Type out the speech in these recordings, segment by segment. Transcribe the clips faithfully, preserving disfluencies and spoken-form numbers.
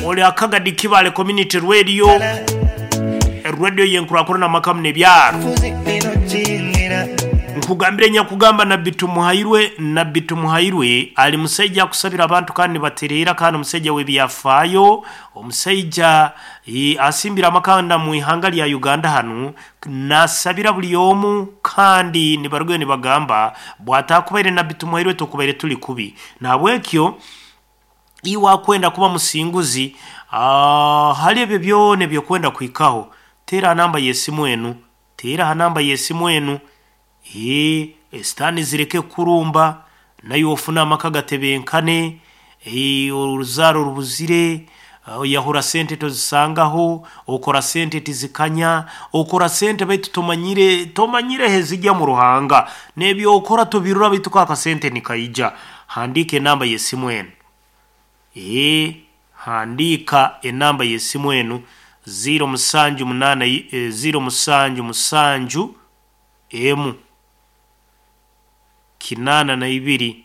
Oli Akagadi Kibale Community Radio, radio yenkurakurana makamu n'ebyaro. Nkugambire nyakugamba Nabbi Tumuhairwe. Nabbi Tumuhairwe ali musaija akusabira abantu kandi batereera, kandi omusajja w'ebyafaayo, omusajja e, asimbira amakanda mu ihanga lya Uganda hanu, nasabira buli omu, kandi nibarugayo nibagamba bwatakubaire Nabbi Tumuhairwe tukubaire tuli kubi. Nahabwekyo iwe akwenda kuba musinguzi, uh, hali ebyo byona ebyokwenda kuhikaho, teera namba y'esimu enu, teera ha namba y'esimu enu. Ee, esitaani zireke kurumba, nayo ofuna amaka gatebenkane, ee, oruzaaro rubuzire, oyahura sente tozisangaho, okora sente tizikanya, okora sente baitu tomanyire tomanyire hezijya mu Ruhanga, n'ebyokora tobirora baitu kaka sente nikaija. Handiika enamba y'esimu enu. Ee, handiika enamba y'esimu enu ziro musanju munaana ziro musanju musanju emu kinaana na ibiri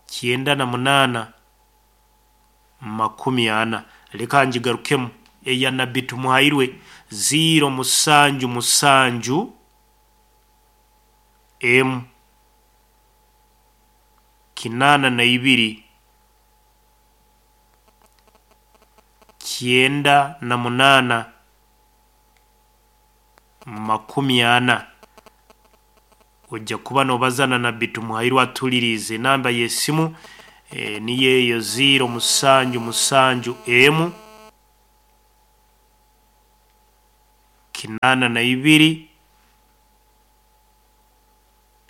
kyenda na munaana makumi ana. Leka ngigarukemu eya Nabbi Tumuhairwe ziro musanju musanju emu kinaana na ibiri kyenda na munaana makumi ana. Ojja kuba nobazana Nabbi Tumuhairwe atulirize enamba y'esimu e, niyo eyo ziro musanju musanju emu kinaana na ibiri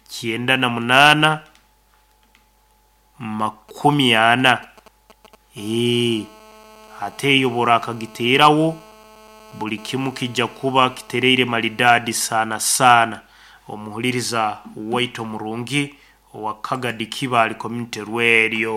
kyenda na munaana makumi ana. Ee, ate eyo borakagiteerawo buli kimu kijja kuba kitereire maridadi sana sana. Omuhuliriza waitu omurungi owa Kagadi Kibale Community Radio.